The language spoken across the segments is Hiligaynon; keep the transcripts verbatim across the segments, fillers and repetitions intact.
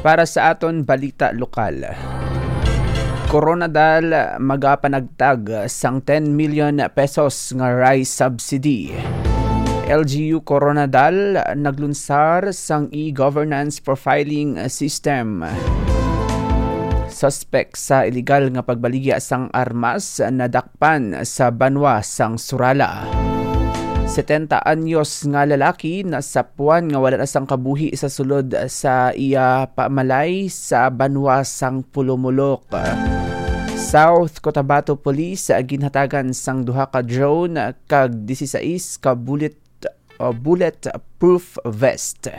Para sa aton balita lokal, Koronadal magapanagtag sang ten million pesos nga rice subsidy. L G U Koronadal naglunsar sang e-governance profiling system. Suspek sa iligal nga pagbaligya sang armas nadakpan sa banwa sang Surala. Setenta anyos nga lalaki nasapuan nga wala na sang kabuhi sa sulod sa iya pamalay sa banwa sang Pulumulok. South Cotabato Police ginhatagan sang duha ka drone kag dieciséis ka bullet, uh, bulletproof vest.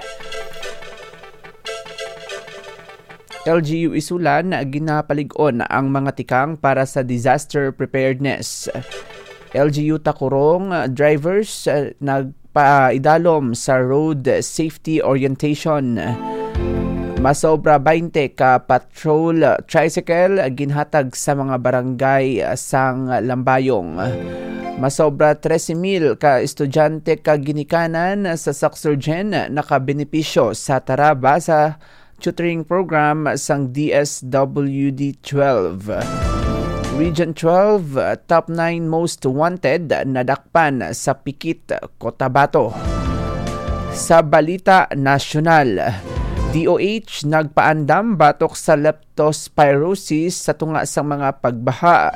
L G U Isulan, ginapalig-on ang mga tikang para sa disaster preparedness. L G U Takurong, uh, drivers, uh, nagpaidalom sa road safety orientation. Masobra twenty ka patrol, uh, tricycle, uh, ginhatag sa mga barangay, uh, sang Lambayong. Masobra trese mil ka estudyante ka ginikanan sa Saxurgen nakabenepisyo sa Taraba sa tutoring program sang D S W D twelve. Region twelve, top nine most wanted nadakpan sa Pikit, Cotabato. Sa balita nasyonal, D O H nagpaandam batok sa leptospirosis sa tunga sang mga pagbaha.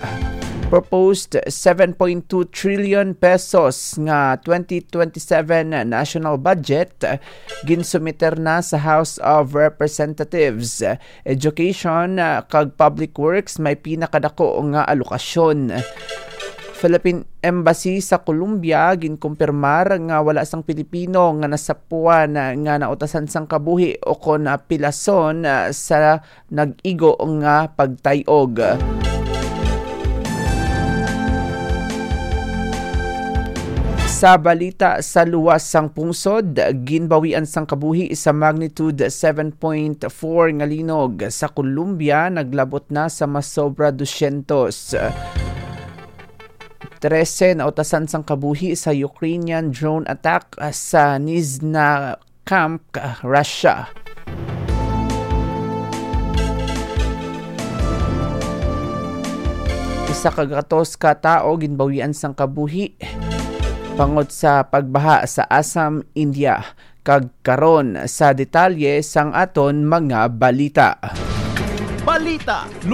Proposed seven point two trillion pesos nga twenty twenty-seven national budget ginsumiter na sa House of Representatives. Education, ah, kag Public Works may pinakadako nga alokasyon. Philippine Embassy sa Colombia ginkumpirmar nga wala sang Pilipino nga nasapuan nga nautasan sang kabuhi o kon, ah, pilason, ah, sa nag-igo nga pagtay-og. Sa balita sa luwas sang pungsod, ginbawian sang kabuhi sa magnitude seven point four nga linog sa Colombia naglabot na sa masobra dosyentos. Trese nautasan sang kabuhi sa Ukrainian drone attack sa Nizhna Kamsk, Russia. Isa ka gatos ka tawo ginbawian sang kabuhi bangod sa pagbaha sa Assam, India. Kag karon sa detalye sang aton mga balita. Balita